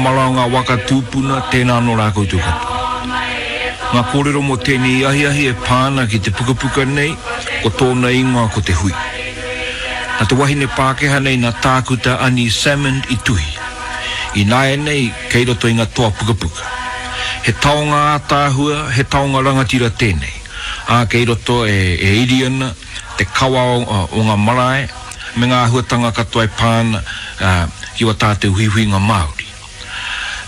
Mara o ngā waka tūpuna, tēnā anō rā koutou katoa. Ngā kōrero mō tēnei ahiahi e pā ana ki te pukapuka nei, ko tōna ingoa ko Te Hui. Nā te wahine Pākehā nei nā Tākuta Ani Salmond i tuhi. Ināianei, kei roto i ngā toa pukapuka. He taonga ātaahua, he taonga rangatira tēnei, ā, kei roto e iri ana te kawa o ngā marae me ngā āhuatanga katoa e pā ana ki wā tātou huihuinga Māori.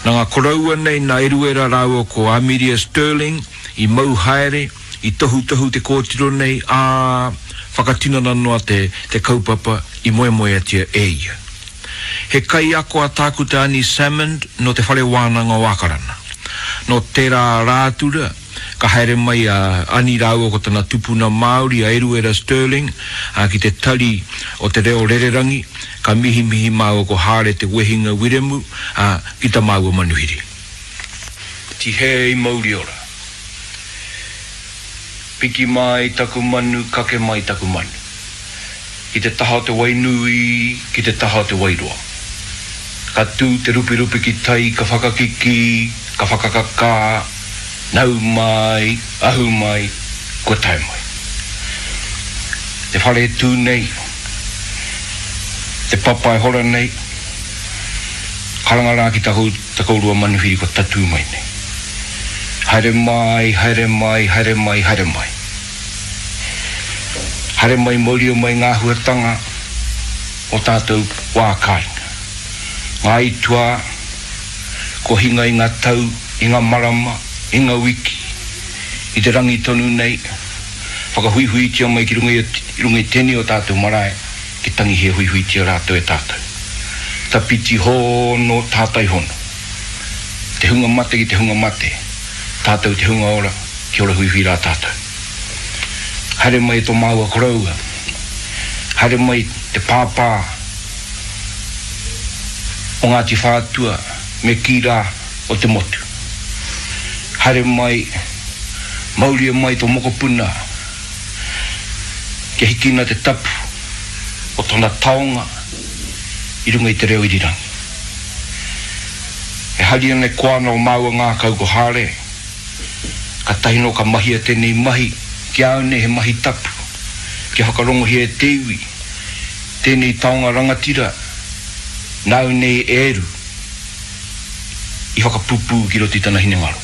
Nā ngā koroua nei nā Eruera rāua ko Amiria Stirling i mau haere, i tohutohu te kōtiro nei, ā, whakatinana noa te te kaupapa i moemoeatia e ia. He kaiako a Tākuta Ani Salmond nō Te Whare Wānanga o Ākarana. Nō tērā Rātura, Ka haere mai a Ani rāua ko tana tupuna Māori a Eruera Stirling ki te tari o Te Reo Rererangi, ka mihimihi māua ko Hāre Te Wehinga Wiremu ki ta māua manuhiri. Tihei mauri ora. Piki mai taku manu, kake mai taku manu. Ki te taha o te Wainui, ki te taha o te Wairoa. Ka tū te rupirupi ki tai, ka whakakikī, ka whakakakā, nau mai, ahu mai, kua tae mai. Te whare e tū nei, te papa e hora nei, karanga rā ki ta kōrua manuhiri kua tatū mai nei. Haere mai, haere mai, haere mai, haere mai. Haere mai mauria mai ngā āhuatanga o tātou wā kāinga. Ngā aituā, kua hinga i ngā tau, i ngā marama, i ngā wiki, i te rangi tonu nei, whakahuihuitia mai ki runga i, runga i tēnei o tātou marae, ki tangihia huihuitia rātou e tātou. Tapiti hono, tātai hono. Te hunga mate ki te hunga mate, tātou te hunga ora, kia ora huihui rā tātou. Haere mai e tō māua koroua, haere mai te pāpā o Ngāti Whātua me kī rā o te motu. Haere mai, mauria mai tō mokopuna kia hikina te tapu o tōna taonga i runga i te reo irirangi. E hari ana e koa ana o māua ngākau ko Hāre, Katahi nō ka mahia tēnei mahi, ki a au nei he mahi tapu, kia whakarongohia e te iwi tēnei taonga rangatira nāu nei e Eru i whakapupū ki roto i tana hinengaro.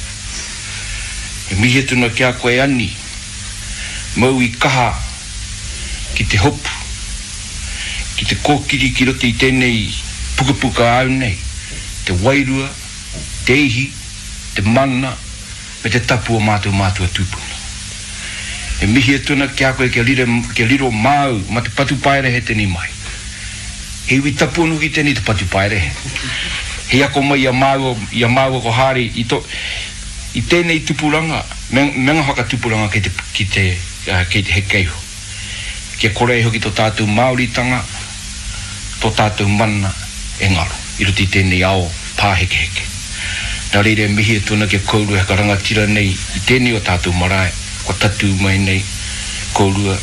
E mihi atu ana ki a koe Ani, mau i kaha ki te hopu, ki te kōkiri ki roto i tēnei pukapuka āu nei, te wairua, te ihi, te mana me te tapu o mātou mātua tūpuna. E mihi atu ana ki a koe kia rire, kia riro māu ma te patupaiarehe tēnei mahi. He iwi tapu anō hoki tēnei te patupaiarehe. Hei ako mai i a māua, i a māua ko Hāri i to, i tēnei tupuranga me, me ngā whakatupuranga kei te, ki te, kei te heke iho. Kia kore ai hoki to tātou Māoritanga, tō tātou mana e ngaro i roto i tēnei ao pāhekeheke. Nā reira e mihi atu ana ki a kōrua he karangatira nei i tēnei o tātou marae kua tatū mai nei kōrua,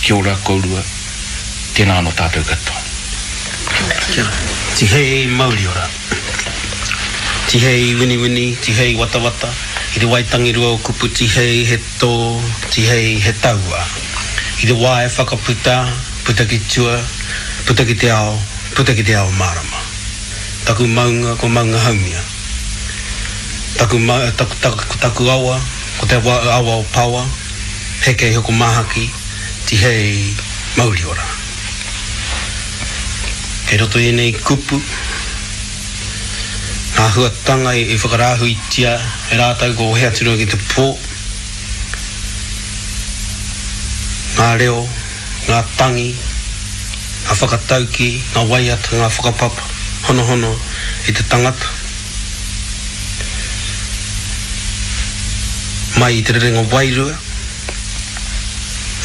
kia ora kōrua, tēnā anō tātou katoa. Kia ora. Tihei mauriora. Tihei winiwini, tihei watawata, i te waitangirua o kupu tihei he tō, tihei he taua. I te wā e whakaputa, puta ki tua, puta ki te ao, puta ki te ao mārama. Taku maunga ko Maunga Haumia. Taku ma, taku, taku, taku awa, ko te awa, awa o Pawa, heke iho ko Māhaki, tihei mauriora. Kei roto i ēnei kupu, ngā huatanga i whakarāhuitia e rātou ko He Aturua ki te Pō, ngā reo, ngā tangi, ngā whakataukī, ngā waiata, ngā whakapapa, honohono i te tangata. Mai i te rerenga wairua,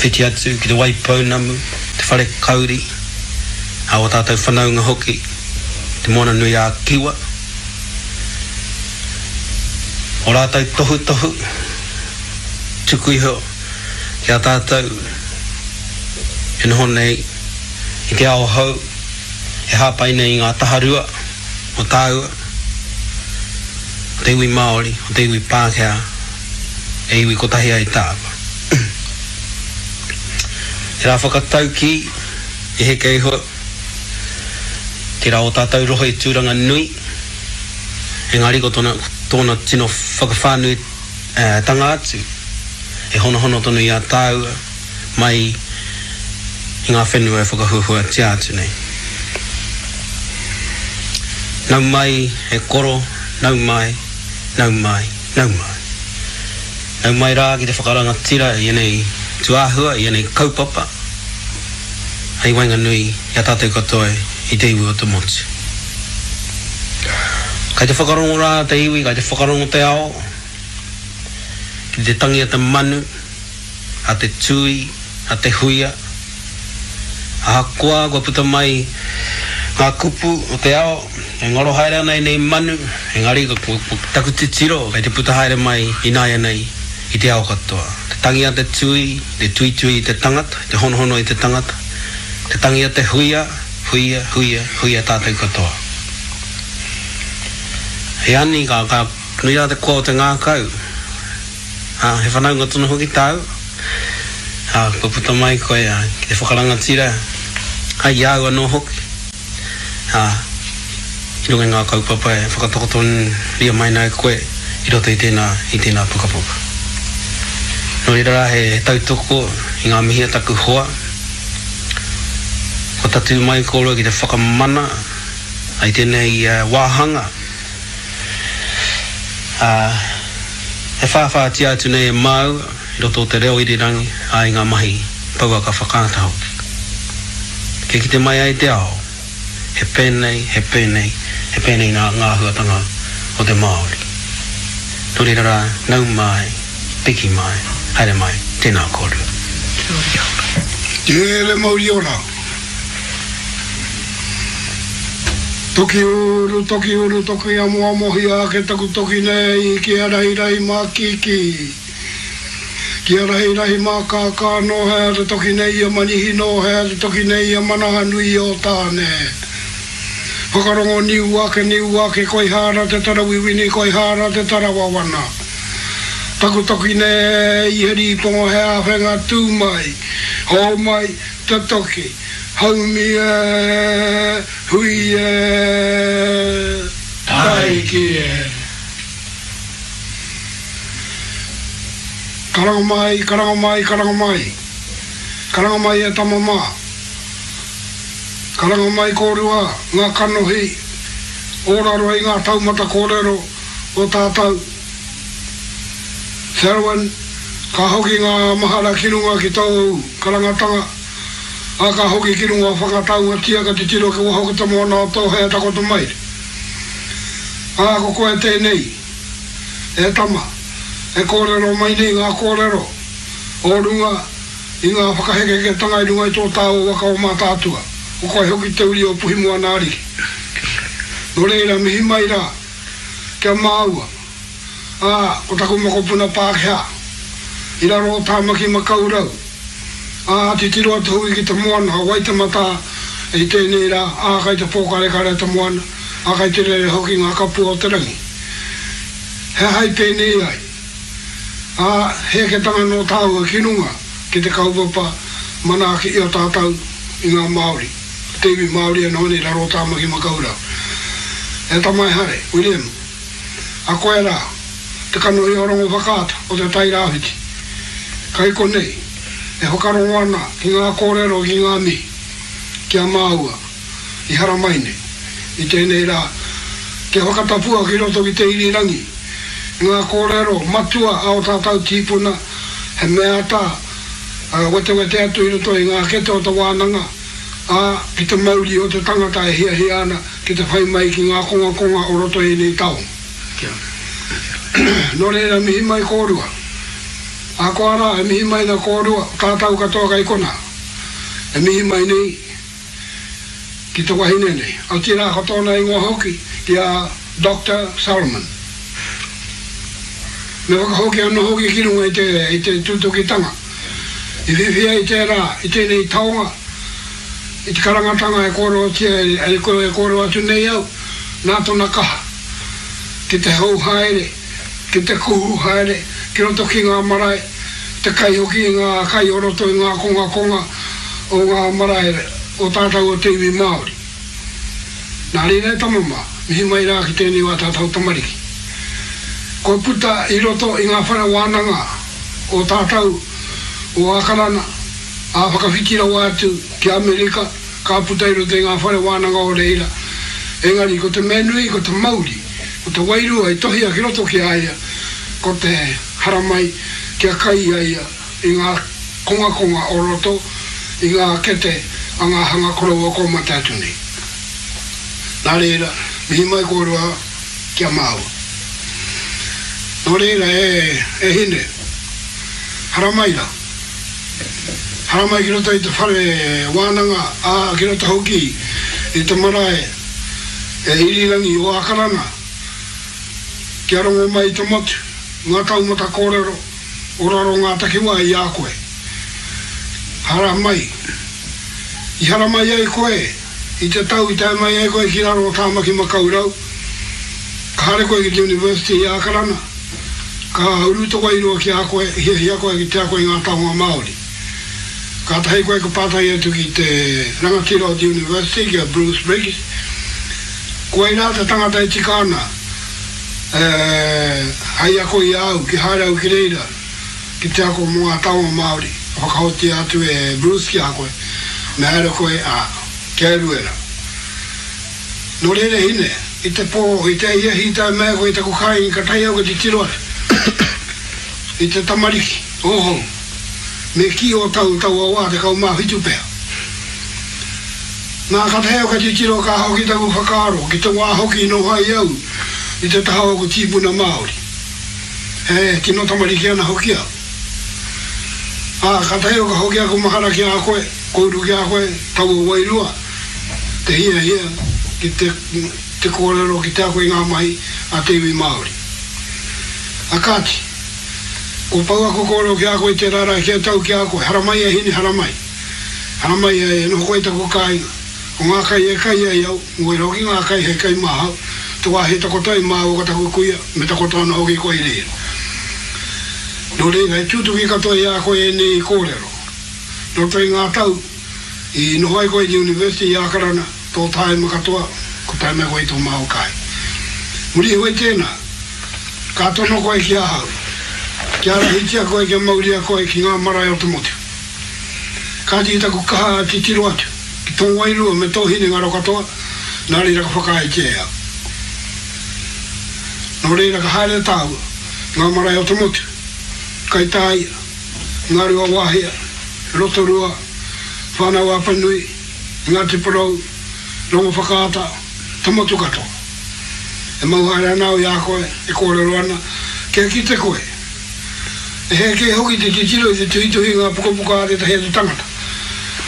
whiti atu ki te Waipounamu, te whare kauri, a ō tātou whanaunga hoki, Te Moana-nui-ā-Kiwa, ō rātou tohutohu tuku iho ki a tātou e noho nei i te ao hou e hāpai nei i ngā taharua o tāua. o te iwi Māori, o te iwi Pākehā, e iwi kotahi ai tāua. He rā whakataukī i heke iho tērā o tātou rohe i Tūranga nui, engari ko tōna, tōna tino whakawhānui tanga atu e honohono tonu i a tāua mai i ngā whenua e whakahuahuatia atu nei. Nau mai e koro, nau mai, nau mai, nau mai. Nau mai rā ki te whakarangatira i ēnei tūāhua, i ēnei kaupapa hei waenganui i a tātou katoa i te iwi o te motu. Kai te whakarongo rā te iwi, kai te whakarongo te ao ki te tangi a te manu, a te tūī, a te huia. Ahakoa kua puta mai ngā kupu o te ao, e ngaro haere ana ēnei manu, engari ko taku titiro kei te puta haere mai ināianei i te ao katoa. Te tangi a te tūī, te tuitui i te tangata, te honohono i te tangata, te tangi a te huia, huia, huia, huia tātou katoa. He ani, ka, ka nui rā te koa o te ngākau. Ā, he whanaunga tonu hoki tāu, ā, kua puta mai koe, ā, ki te whakarangatira, ā, i a au anō hoki, ā, i runga i ngā kaupapa e whakatakotoria mai nei koe i roto i tēnā, i tēnā pukapuka. Nō reira rā, he tautoko i ngā mihi a taku hoa, kua tatū mai kōrua ki te whakamana i tēnei wāhanga, Ā, e whāwhātia atu nei e māua i roto o te reo irirangi, ā, i ngā mahi pouaka whakaata hoki. Kia kite mai ai te ao, he pēnei, he pēnei, he pēnei nā ngā āhuatanga o te Māori. Nō reira rā, nau mai, piki mai, haere mai, tēnā kōrua. Te mauri ora. Toki uru, toki uru, toki amoamohia ake taku toki nei ki a Rahirahi mā Kiki, ki a Rahirahi mā Kākā nō hea te toki nei i a Manihi nō hea te toki nei i a Manahanui o Tāne. Whakarongo niu ake, niu ake, koi hāra te tara wiwini, koi hāra te tara wawana. Taku toki nei i he rīponga he āwhenga tū mai, hō mai, Te toki, haumi e, hui e, taiki e. Karanga mai, karanga mai, karanga mai. Karanga mai e tama mā. Karanga mai kōrua ngā kanohi o raro i ngā taumata kōrero o tātou. Selwyn, ka hoki ngā mahara ki runga ki tōu karangatanga, ā, ka hoki ki runga o Whakataungatia ka titiro ki waho ki te moana o Tōhea takoto mai. Ā, ko koe tēnei, e tama, e kōrero mai nei ngā kōrero o runga i ngā whakahekeheketanga i runga i tō tāua waka o Mātaatua, ko koe hoki te uri o Puhimoana Ariki. Nō reira, mihi mai rā ki a māua. ā, ko taku mokopuna Pākehā, i raro o Tāmaki-makau-rau, ā, titiro atu hoki ki te moana o Waitematā i tēnei rā, ā, kai te pōkarekare te moana, ā, kai te rere hoki ngā kapua o te rangi. He aha i pēnei ai? Ā, he eketanga nō tāua ki runga ki te kaupapa manaaki i a tātou i ngā Māori, te iwi Māori e noho nei i raro o Tāmaki-makau-rau. E tama e Hare, Wiremu. A koe rā, te kanohi o Rongowhakaata o Te Tai Rāwhiti, kai konei e whakarongo ana ki ngā kōrero ki ngā mihi ki a māua i haramai nei i tēnei rā kia whakatapua ki roto ki te irirangi ngā kōrero matua a o tātau tīpuna he mea ata wetewete atu i roto i ngā kete o te wānanga, ā, ki te mauri o te tangata e hiahia ana ki te whai mai ki ngā kongakonga o roto i ēnei taonga. Nō reira, mihi mai kōrua. Ahakoa rā, e mihi mai na kōrua, tātau katoa kai konā, e mihi mai nei ki te wahine nei, otirā ko tōna ingoa hoki ki a Doctor Solomon. Me whakahoki anō hoki ki runga i te, i te tūtukitanga i whiwhi ai tērā i tēnei taonga, i te karangatanga e kōrerotia e, e kōrero atu nei au, nā tōna kaha. ki te hou haere, ki te kuhu haere ki roto ki ngā marae, te kai hoki i ngā kai o roto i ngā kongakonga o ngā marae o tātau o te iwi Māori. Nā reira e tama mā, mihi mai rā ki tēnei o ā tātau tamariki. Kua puta i roto i ngā whare wānanga o tātau o Ākarana, ā whakawhiti rawa atu ki Amerika, ka puta i roto i ngā whare wānanga o reira, engari ko te mea nui ko te mauri, ko te wairua i tohia ki roto ki a ia, ko te haramai kia kai a ia i ngā kongakonga o roto i ngā kete a ngā hanga koroua kua mate atu nei. Nā reira, mihi mai kōrua ki a māua. Nō reira, e, e hine, haramai rā. Haramai ki roto i te whare wānanga, ā, ki roto hoki i te marae e Irirangi o Ākarana, kia rongo mai i te motu, ngā taumata kōrero o raro ngā takiwā i a koe. Haramai. I haramai ai koe i te tau i tae mai ai koe ki raro o Tāmaki Makaurau, ka haere koe ki te University i Ākarana, Ka uru te wairua ki a koe, hiahia koe ki te ako i ngā taonga Māori. Kātahi koe ka pātai atu ki te rangatira o te University, ki a Bruce Briggs, koirā te tangata e tika ana hei ako i a au, ki haere au ki reira ki te ako mō ngā taonga Māori, ka whakahotia atu e Bruce ki a koe, me haere koe, ā, kia Eruera. Nō reira hine, i te pō, i te ahiahi i tae mai koe i taku kāinga ka tae au ki te tiro atu i te tamariki ōhou, me kī ō tau taua wā 17 pea. Nā ka tae au ka titiro ka hoki taku whakaaro ki te wā hoki i noho ai au i te taha o aku tīpuna Māori. He tino tamariki ana hoki au. Ā, ka tae au ka hoki aku mahara ki a koe, kouru ki a koe, taua wairua. te hiahia ki te te kōrero ki te ako i ngā mahi a te iwi Māori. A kāti, kua pau aku kōrero ki a koe i tērā rā kia tau ki a koe, haramai e hine, haramai. Haramai e noho koe i taku kāinga. Ko ngā kai e kai ai au, ngoi hoki ngā kai hei kai māhau, te wāhi e takoto ai māua ko taku kuia, me takoto anō hoki koe i reira. Nō reira, he tūtuki katoa i a koe ēnei kōrero. Roto i ngā tau, I noho ai koe i te University i Ākarana, tō tāima katoa, ko tae mai koe i tō māua kai. Muri iho i tēnā, ka tono koe ki ahau, kia ārahitia koe, kia mauria koe ki ngā marae o te motu. Kāti i taku kaha titiro atu ki tō wairua me tō hinengaro katoa, nā reira ka whakaaetia e au. Nō reira ka haere tāua, ngā marae o te motu, Kaitāia, Ngāruawāhia, Rotorua, Whānau-a-Apanui, Ngāti Porou, Rongowhakaata, te motu katoa. E mau haere ana au i a koe, e kōrero ana, kia kite koe. E hē kē hoki te titiro i te tuhituhi i ngā pukapuka a tētahi atu tangata.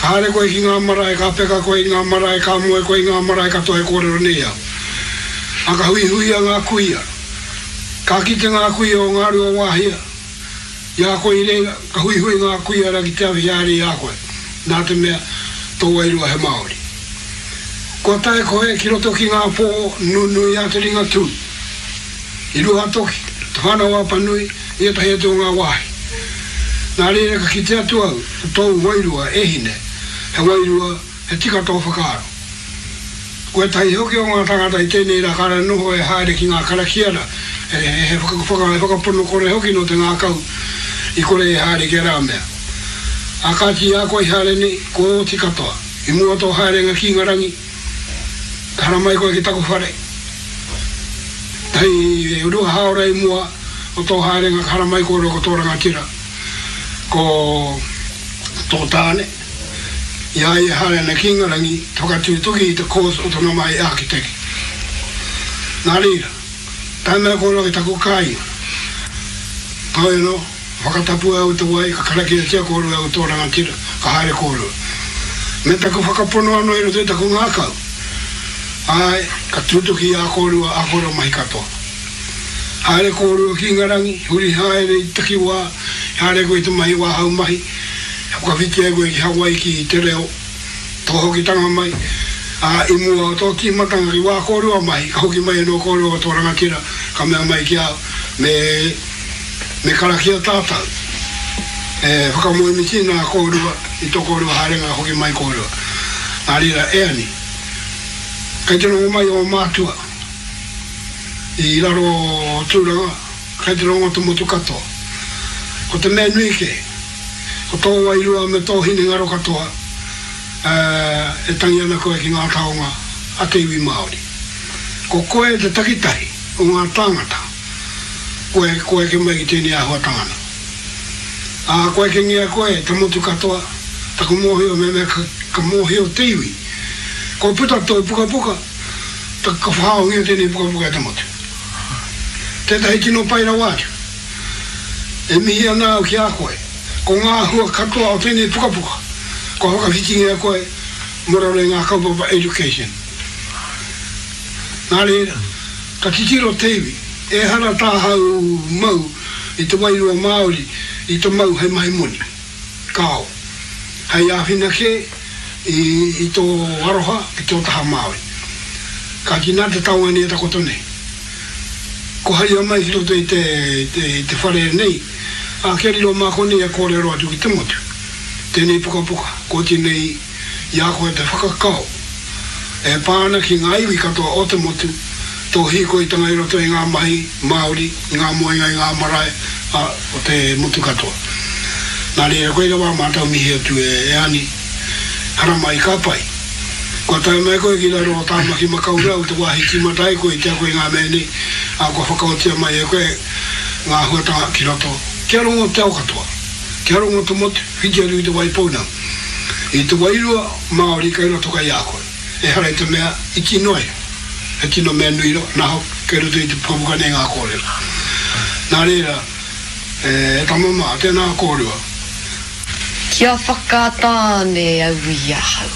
Ka haere koe ki ngā marae, ka peka koe i ngā marae, ka moe koe i ngā marae katoa e kōrero nei au. Ā, ka huihuia ngā kuia. Ka kite ngā kuia o Ngāruawāhia, I a koe i reira, ka huihui ngā kuia rā ki te awhi haere i a koe, nā te mea, tō wairua he Māori. Kua tae koe ki roto ki ngā pō nunui a te Ringatū, i Ruatoki, Te Whānau-a-Apanui, i ētahi atu o ngā wāhi. Nā reira ka kite atu au, ko tōu wairua, e hine, he wairua, he tika tō whakaaro. Ko ētahi hoki o ngā tāngata i tēnei rā kāre noho e haere ki ngā karakia rā, he whakapono kore hoki nō te ngākau i kore e haere ki ērā mea. Ā kāti i a koe i haere nei, kua oti katoa. I mua tō haerenga ki Ingarangi, ka haramai koe ki taku whare. Hei rua hāora i mua o tō haerenga ka haramai kōrua ko tō rangatira, ko tō tāne. I a ia e haere ana ki Ingarangi, te whakatūtuki i te course o tana mahi ākiteke. Nā reira, tae mai kōrua ki taku kāinga. Heoi anō, whakatapua au i te wai, ka karakiatia kōrua e au tō rangatira, ka haere kōrua. Me taku whakapono anō i roto i taku ngākau, āe, ka tūtuki i a kōrua ā kōrua mahi katoa. Haere kōrua ki Ingarangi, huri haere i te takiwā, haere koe i te mahi wāhau mahi, whakawhiti ai koe ki Hawaiki i te reo, tō hokitanga mai, ā, i mua o tō tīmatanga ki wā kōrua mahi, ka hoki mai anō kōrua ko tō rangatira, Ka mea mai ki a au, Me, me karakia tātou. E whakamoemiti nā kōrua i tō kōrua haerenga hoki mai kōrua. Nā reira, e Ani, kei te rongo mai ō mātua i raro o Tūranga, kei te rongo te motu katoa. Ko te mea nui kē, ko tō wairua me tō hinengaro katoa, ā, e tangi ana koe ki ngā taonga a te iwi Māori. Ko koe te takitahi o ngā tāngata kua kua eke mai ki tēnei āhuatanga na. Ā, kua ekengia koe te motu katoa, taku mōhio mehemea ka, ka mōhio te iwi, kua puta tō pukapuka, ta, ka whakaongia tēnei pukapuka e te motu. Tētahi tino pai rawa atu. E mihi ana au ki a koe, ko ngā hua katoa o tēnei pukapuka, kua whakawhitingia koe mō raro i ngā kaupapa education. Nā reira, ka titiro te iwi, ehara tāhau mau i te wairua Māori i te mau hei mahi moni. Kāo. Hei āwhina kē i, i tō aroha ki tō taha Māori. Kāti nā te taonga nei e takoto nei. Ko haria mai ki roto i te, te, i te whare nei, ā, kia riro mā konei e kōrero atu ki te motu. Tēnei pukapuka, ko oti nei i a koe te whakakao e pā ana ki ngā iwi katoa o te motu, tō hīkoitanga i roto i ngā mahi Māori, i ngā moenga i ngā marae, ā, o te motu katoa. Nā reira, koira wā mātou mihi atu e Ani, haramai ka pai. Kua tae mai koe ki raro o Tāmaki Makaurau, te wāhi tīmata ai koe i te ako i ngā mea nei, ā, kua whakaotia mai e koe ngā āhuatanga ki roto. Kia rongo te ao katoa, kia rongo te motu, whiti atu ki Te Waipounamu. I te wairua Māori kei roto kai a koe. Ehara i te mea iti noa iho, he tino mea nui rawa, nā hoki, kei roto i te pukapuka nei ngā kōrero. Nā reira, e tama mā, tēnā kōrua. Kia whakatāne au i ahau.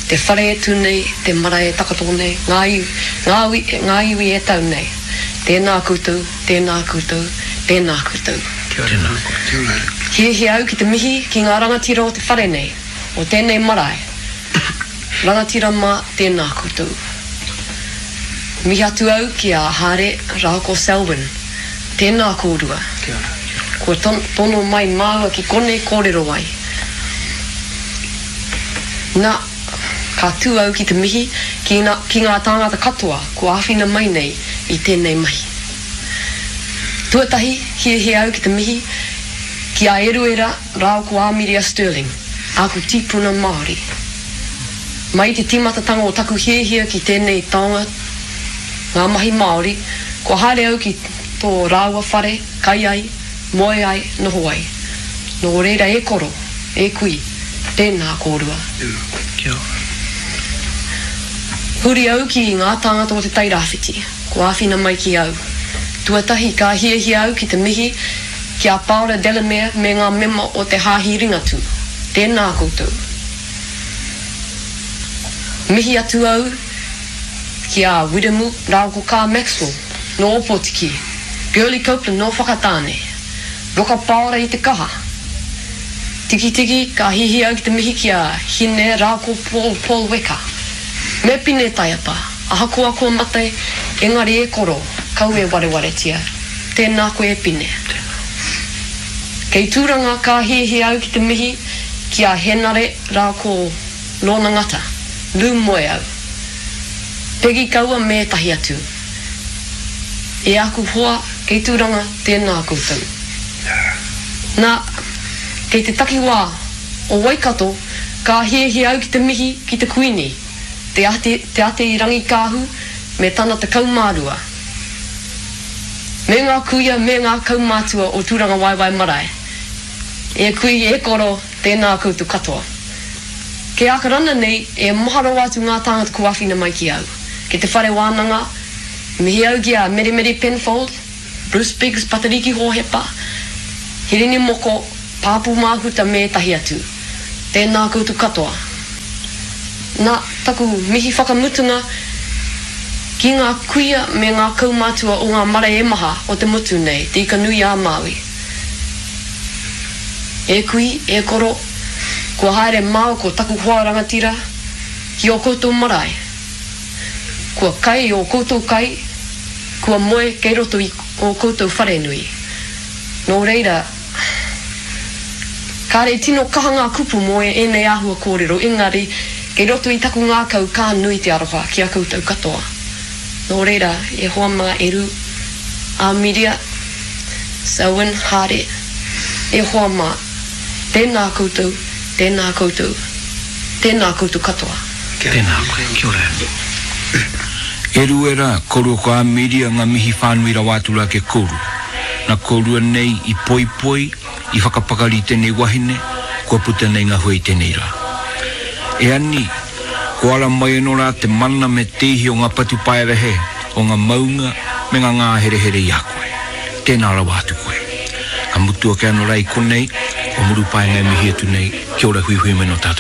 Te whare e tū nei, te marae e takoto nei, ngā iwi, ngā ui, ngā iwi e tau nei. Tēnā koutou, tēnā koutou, tēnā koutou. Kia ora. Kia ora. Hiahia au ki te mihi ki ngā rangatira o te whare nei, o tēnei marae. Rangatira mā, tēnā koutou. Mihi atu au ki a Hare rāua ko Selwyn. Tēnā kōrua. Kia ora. Kua tono mai māua ki konei kōrero ai. Na, ka tū au ki te mihi ki ki ngā tāngata katoa kua āwhina mai nei i tēnei mahi. Tuatahi, hiahia au ki te mihi ki a Eruera rāua ko Āmiria Stirling, āku tīpuna Māori. Mai i te tīmatatanga o taku hiahia ki tēnei taonga, ngā mahi Māori, kua haere au ki tō rāua whare, kai ai, moe ai, noho ai. Nō reira e koro, e kui, tēnā kōrua. Kia ora. Huri au ki ngā tāngata o Te Tairāwhiti, kua āwhina mai ki au. Tuatahi, ka hiahia au ki te mihi ki a Paora Delamere me ngā mema o te Hāhi Ringatū. Tēnā koutou. Mihi atu au ki a Wiremu rāua ko Kaa Maxwell nō Ōpōtiki, Girlie Copeland nō Whakatāne, Roka Paora i te kaha. Tikitiki, ka hihi au ki te mihi ki a Hine rāua ko Paul, Paul Weka. Me Pine Taiapa, ahakoa kua mate, engari e koro, kau e warewaretia. Tēnā koe e Pine. Kei Tūranga ka hihi au ki te mihi ki a Henare rāua ko Lorna Ngata, Lou Moeau, Peggy Kaua me ētahi atu. E aku hoa kei Tūranga tēnā koutou. Nā, kei te takiwā o Waikato ka hiahia au ki te mihi ki te Kuini, Te Ate, Te Ate-i-Rangikaahu me tana 12. Me ngā kuia me ngā kaumātua o Tūrangawaewae Marae. E kui, e koro, tēnā koutou katoa. Kei Ākarana nei, e maha rawa atu ngā tāngata kua āwhina mai ki au. Ki te whare wānanga, mihi au ki a Meremere Penfold, Bruce Biggs, Patariki Hōhepa, Hirini Moko, Pāpū Māhuta me ētahi atu. Tēnā koutou katoa. Nā, taku mihi whakamutunga ki ngā kuia me ngā kaumātua o ngā marae e maha o te motu nei, Te Ika-nui-ā-Māui. E kui, e koro, kua haere māua ko taku hoa rangatira ki ō koutou marae. Kua kai ō koutou kai, Kua moe kei roto i ō koutou wharenui. Nō reira, kāre i tino kaha ngā kupu mō ēnei āhua kōrero, engari, kei roto i taku ngākau ka nui te aroha ki a koutou katoa. Nō reira, e hoa mā e Ru, Amiria, Selwyn, Hāre, e hoa mā, tēnā koutou, tēnā koutou, tēnā koutou katoa. Tēnā koe, kia ora. E Ruera, korua ko Amiria nga mihi whānui rawa atu ra ke korua. Na korua nei i poipoi, i whakapakari tenei wahine, kua puta nei nga hua i tenei ra. E Ani, ko ara mai ano ra te mana me te ihi o nga patupaerehe o nga maunga me nga ngāherehere i a koe. Tēnā rawa atu koe. Ka mutu ake ano ra i konei, ko Murupaenga e mihi atu nei, kia ora huihui mai no tatou.